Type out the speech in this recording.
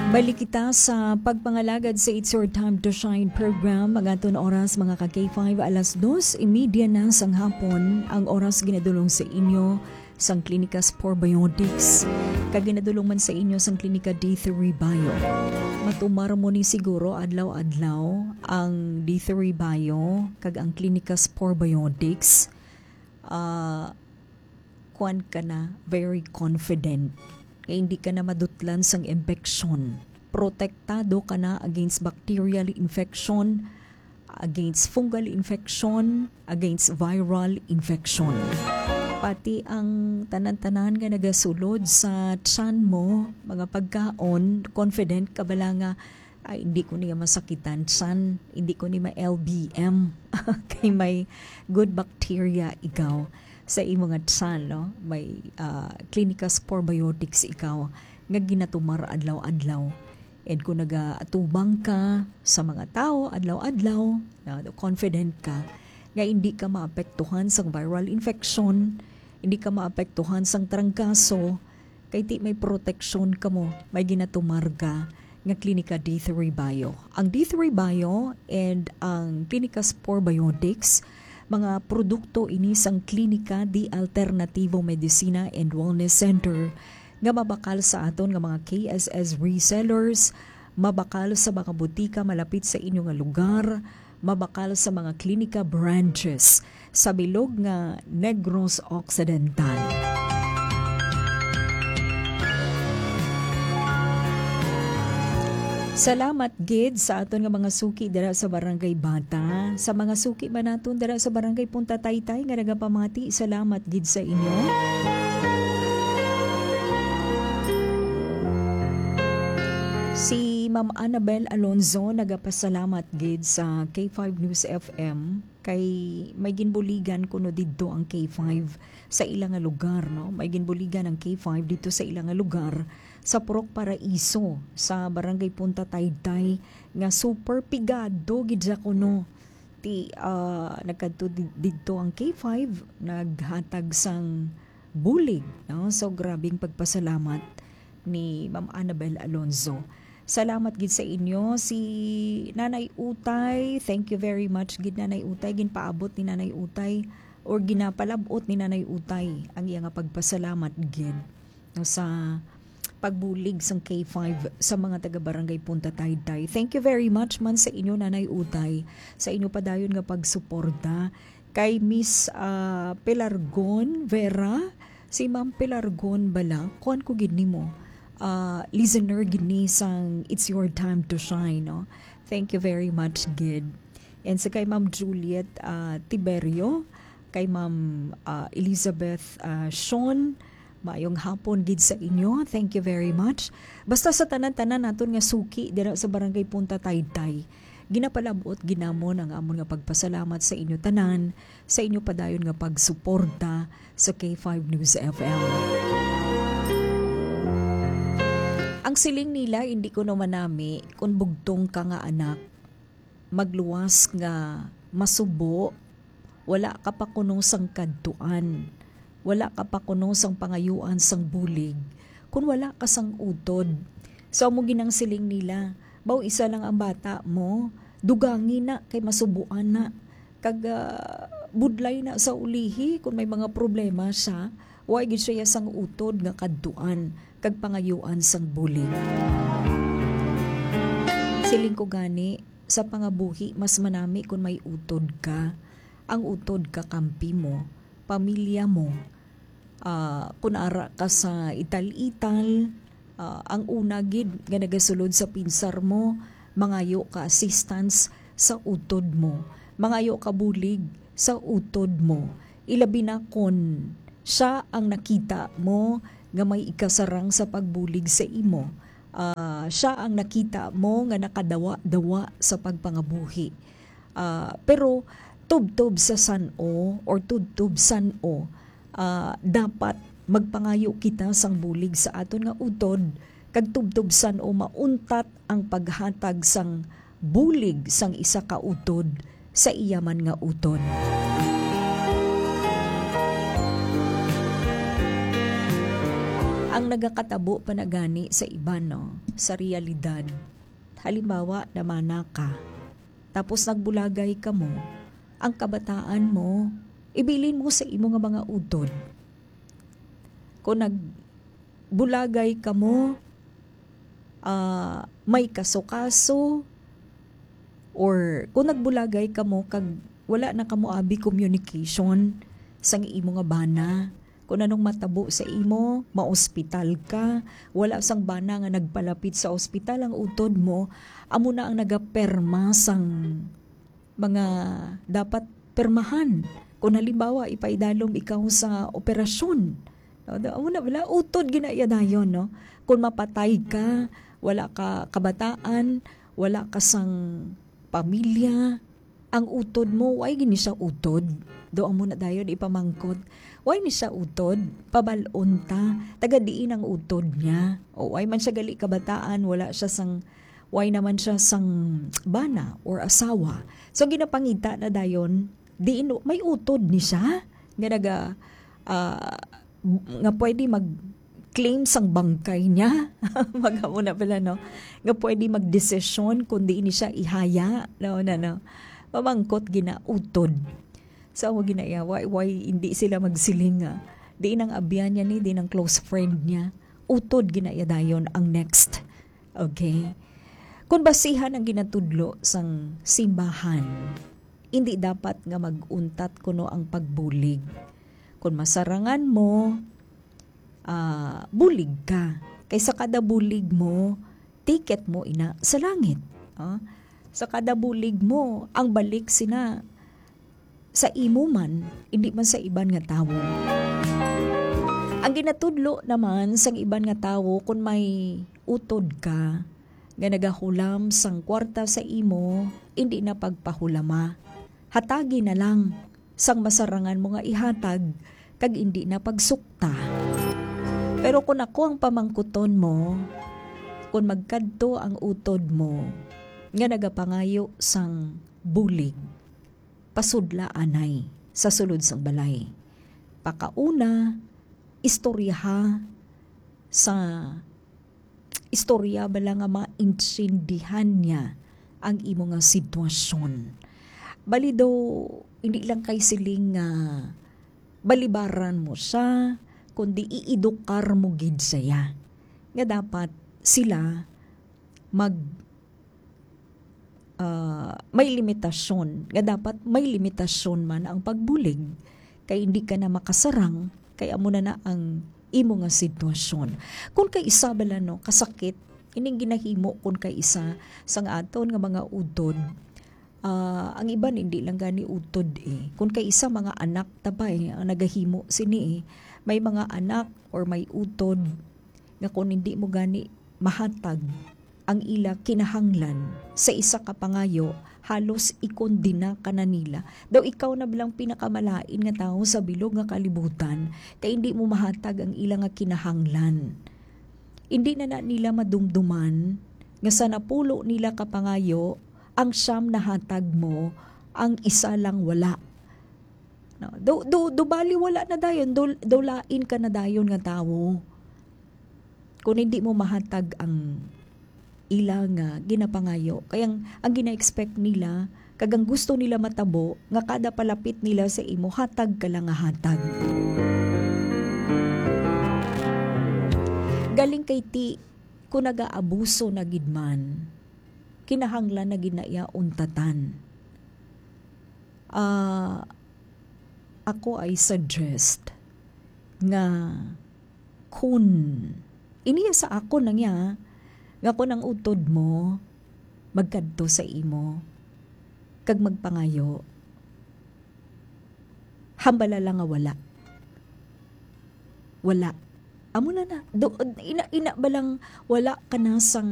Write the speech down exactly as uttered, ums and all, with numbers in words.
Balik kita sa pagpangalagad sa It's Your Time to Shine program. Ang aton oras, mga ka K five, alas dos y media na sang hapon. Ang oras ginadulong sa inyo sang Klinika Spore Biotics, kag ginadulong man sa inyo sang Klinika D three Bio. Matumar mo ni siguro adlaw-adlaw ang D three Bio kag ang Klinika Spore Biotics. Ah, kuan ka na, very confident nga hindi ka na madutlan sang impeksyon. Protektado ka na against bacterial infection, against fungal infection, against viral infection. Pati ang tanan-tanan nga nagasulod sa tiyan mo, mga pagkaon, confident ka bala nga, "Ay, hindi ko niya masakitan tiyan, hindi ko ni ma-L B M." Kay may good bacteria ikaw sa imo nga tiyan, no? May, ah, Clinicas Probiotics ikaw nga ginatumar adlaw-adlaw. And kung nagaatubang ka sa mga tawo adlaw-adlaw, na confident ka nga hindi ka maapektuhan sang viral infection, hindi ka maapektuhan sang trangkaso, kay ti may proteksyon kamo, may ginatumar ka nga Klinika D three Bio. Ang D three Bio and ang Klinika Spore Biotics, mga produkto ini sang Klinika de Alternativo Medicina and Wellness Center nga mabakal sa aton nga mga K S S resellers, mabakal sa mga butika malapit sa inyo nga lugar, mabakal sa mga klinika branches sa bilog nga Negros Occidental. Salamat gid sa aton nga mga suki dira sa Barangay Bata. Sa mga suki man naton dira sa Barangay Punta Taytay nga nagapamati, salamat gid sa inyo. Si Ma'am Annabel Alonzo nagapasalamat gid sa K five News F M kay may ginbuligan kuno didto ang K five sa ila nga lugar, no? May ginbuligan ang K five dito sa ila nga lugar sa Purok Paraiso, sa Barangay Punta Taytay, nga super pigado gid sa kuno. Ti, ah, nagkadto di-, didto ang K five, naghatag sang bulig, no? So, grabing pagpasalamat ni Ma'am Annabel Alonzo. Salamat gid sa inyo. Si Nanay Utay, thank you very much gid, Nanay Utay. Ginpaabot ni Nanay Utay or ginapalab-ot ni Nanay Utay ang iya nga pagpasalamat gid, no, sa pagbulig sang K five sa mga taga Barangay Punta Taytay. Thank you very much man sa inyo, Nanay Utay, sa inyo padayon nga pagsuporta kay Miss, ah, Pelargon Vera. Si Ma'am Pelargon bala, kuan ko gid nimo, ah, listener gid ni sang It's Your Time to Shine, no? Thank you very much gid. And sa kay Ma'am Juliet, ah, Tiberio, kay Ma'am, ah, Elizabeth, ah, Sean, maayong hapon gid sa inyo. Thank you very much. Basta sa tanan-tanan naton nga suki dira sa Barangay Punta Taytay, ginapalab-ot gid namon ang amon nga pagpasalamat sa inyo tanan, sa inyo padayon nga pagsuporta sa K five News F M. Ang siling nila, hindi ko naman nami kung bugtong ka nga anak, magluwas nga masubo, wala ka pa kuno sang kadtuan, wala ka pa kuno sang pangayuan sang bulig, kun wala ka sang utod. So, amo ginang siling nila, "Baw isa lang ang bata mo, dugangi na kay masubuan na, kag, ah, budlay na sa ulihi kun may mga problema siya, wa gid siya sang utod nga kadtuan kag pangayuan sang bulig." Siling ko gani, sa pangabuhi, mas manami kon may utod ka. Ang utod kakampi mo, pamilya mo. Ah, kun ara ka sa ital-ital, ah, ang una gid nga nagasulod sa pinsar mo, mangayo ka assistance sa utod mo. Mangayo ka bulig sa utod mo. Ilabi na kon siya ang nakita mo nga may ikasarang sa pagbulig sa imo. Ah, siya ang nakita mo nga nakadawa-dawa sa pagpangabuhi. Ah, pero tubtob sa san-o or tubtob san-o, ah, dapat magpangayo kita sang bulig sa aton nga utod, kag tubtob san-o mauntat ang paghatag sang bulig sang isa ka utod sa iya man nga utod. Ang Nagakatabo pa na gani sa iban, no? Sa realidad. Halimbawa, namana ka. Tapos nagbulagay kamo. Ang kabataan mo, ibilin mo sa imo nga mga utod. Kung nagbulagay kamo, ah, may kaso-kaso, or kung nagbulagay kamo kag wala na kamo abi communication sang imo nga bana, kung anong matabo sa imo, maospital ka, wala sang bana nga nagpalapit sa ospital ang utod mo, amo na ang nagaperma sang mga dapat permahan. Kung halimbawa, ipaidalom ikaw sa operasyon, no? Da-, amo na bala, utod gina iya dayon, no? Kung mapatay ka, wala ka kabataan, wala ka sang pamilya, ang utod mo, why gini siya utod? Do amo na dayon ipamangkot, why ni siya utod? Pabal-on ta, taga diin ang utod niya? O why man siya gali kabataan, wala siya sang, why naman siya sang bana or asawa? So, ginapangita na dayon, diin may utod ni siya nga naga, ah, nga pwede mag-claim sang bangkay niya. Magamo na pala, no? Nga pwede magdesisyon kung diin ni siya ihaya, no, na, no? Mamangkot gina utod. So, amo gina iya, why, why hindi sila magsiling nga, diin ang abyan niya ni, diin ang close friend niya? Utod gina iya dayon ang next. Okay? Kung basihan ang ginatudlo sang simbahan, hindi dapat nga mag-untat kuno ang pagbulig. Kung masarangan mo, ah, bulig ka. Kay sa kada bulig mo, ticket mo ina sa langit. Ah, sa kada bulig mo, ang balik sina sa imo man, hindi man sa iban nga tawo. Ang ginatudlo naman sang iban nga tawo, kung may utod ka nga nagahulam sang kwarta sa imo, hindi na pagpahulama. Hatagi na lang sang masarangan mo nga ihatag, kag indi na pagsukta. Pero kung ako ang pamangkuton mo, kung magkadto ang utod mo nga nagapangayo sang bulig, pasudla anay sa sulod sang balay. Pakauna, istoryaha sa istorya bala nga maintindihan niya ang imo nga sitwasyon. Bali daw, hindi lang kay siling nga balibaran mo siya, kundi iedukar mo gid siya nga dapat sila mag, ah, may limitasyon, nga dapat may limitasyon man ang pagbulig, kay hindi ka na makasarang, kay amo na na ang imo nga sitwasyon. Kung kay isa bala, no, kasakit ining ginahimo, kung kay isa sang aton nga mga utod, ah, ang iban hindi lang gani utod, eh. Kung kay isa, mga anak ta pa, eh, ang nagahimo sini, eh. May mga anak or may utod nga kung hindi mo gani mahatag ang ila kinahanglan sa isa ka pangayo, halos ikondena ka na nila. Daw ikaw na bilang pinakamalain nga tawo sa bilog nga kalibutan, kay hindi mo mahatag ang ila nga kinahanglan. Hindi na, na nila madumduman nga sa napulo nila ka pangayo, ang siyam nahatag mo, ang isa lang wala. No? Do, do, do bali wala na dayon, do, do lain ka na dayon nga tawo. Kung hindi mo mahatag ang ila nga ginapangayo, kay ang, ang gina-expect nila, kag ang gusto nila matabo, nga kada palapit nila sa imo, hatag ka lang nga hatag. Galing kay ti, kung nagaabuso na gid man, kinahanglan na gid na iya untatan. Ah, ako ay suggest nga kun, iniya sa akon lang ya, nga kun ang utod mo magkadto sa imo kag magpangayo, hambala lang nga wala. Wala. Amo na na. Do, ina, ina ba lang wala ka na sang